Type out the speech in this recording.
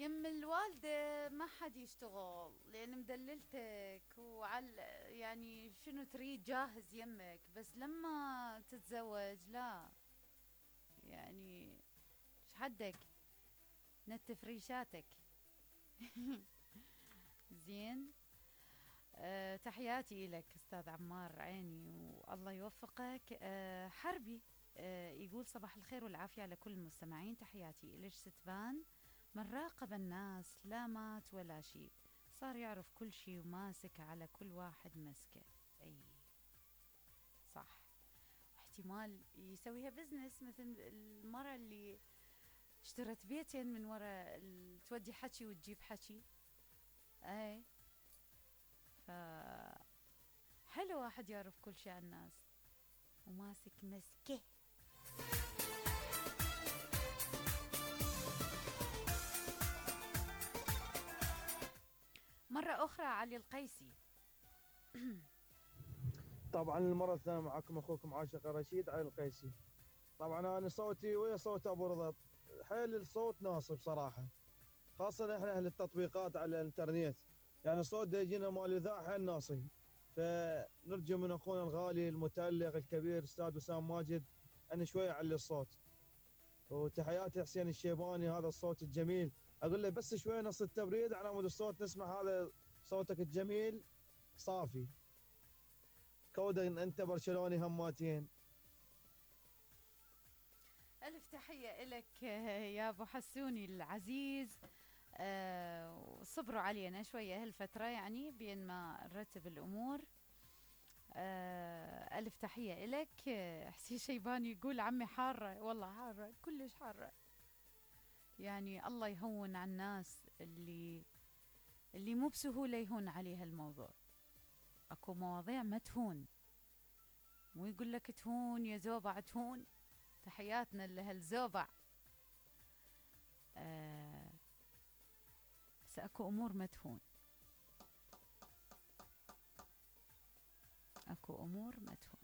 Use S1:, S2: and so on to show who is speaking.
S1: يم الوالدة ما حد يشتغل لأن مدللتك يعني شنو تريد جاهز يمك، بس لما تتزوج لا، يعني ايش حدك نتف ريشاتك. زين. تحياتي إلك أستاذ عمار عيني والله يوفقك. حربي يقول صباح الخير والعافية على كل المستمعين، تحياتي إلك ستبان من راقب الناس لا مات ولا شيء، صار يعرف كل شيء وماسك على كل واحد مسكه. أي صح، احتمال يسويها بزنس مثل المرة اللي اشترت بيتين من وراء تودي حكي وتجيب حكي. اي ف حلو واحد يعرف كل شيء عن الناس وماسك مسكه. مرة أخرى علي القيسي.
S2: طبعا المرة الثانية معكم أخوكم عاشق رشيد علي القيسي. طبعا أنا صوتي ويا صوت أبو رضا، حيل الصوت ناصب صراحة، خاصة إحنا أهل التطبيقات على الإنترنت، يعني الصوت دا يجينا مال الإذاعة حيل ناصب. فنرجو من أخونا الغالي المتألق الكبير أستاذ وسام ماجد أن شوية يعلي الصوت. وتحياتي حسين الشيباني، هذا الصوت الجميل، أقول له بس شوية نص التبريد على مود الصوت نسمع هذا صوتك الجميل صافي. كودا أنت برشلوني هماتين.
S1: ألف تحية إلك يا أبو حسوني العزيز. صبروا علينا شوية هالفترة يعني بين ما نرتب الأمور. ألف تحية إلك. حسين شيباني يقول عمي حارة، والله حارة كلش حارة، يعني الله يهون على الناس اللي مو بسهولة يهون عليها الموضوع. أكو مواضيع ما تهون، مو يقول لك تهون يا زوبع تهون. تحياتنا لهالزوبع. بس اكو امور ما تهون، اكو امور ما تهون.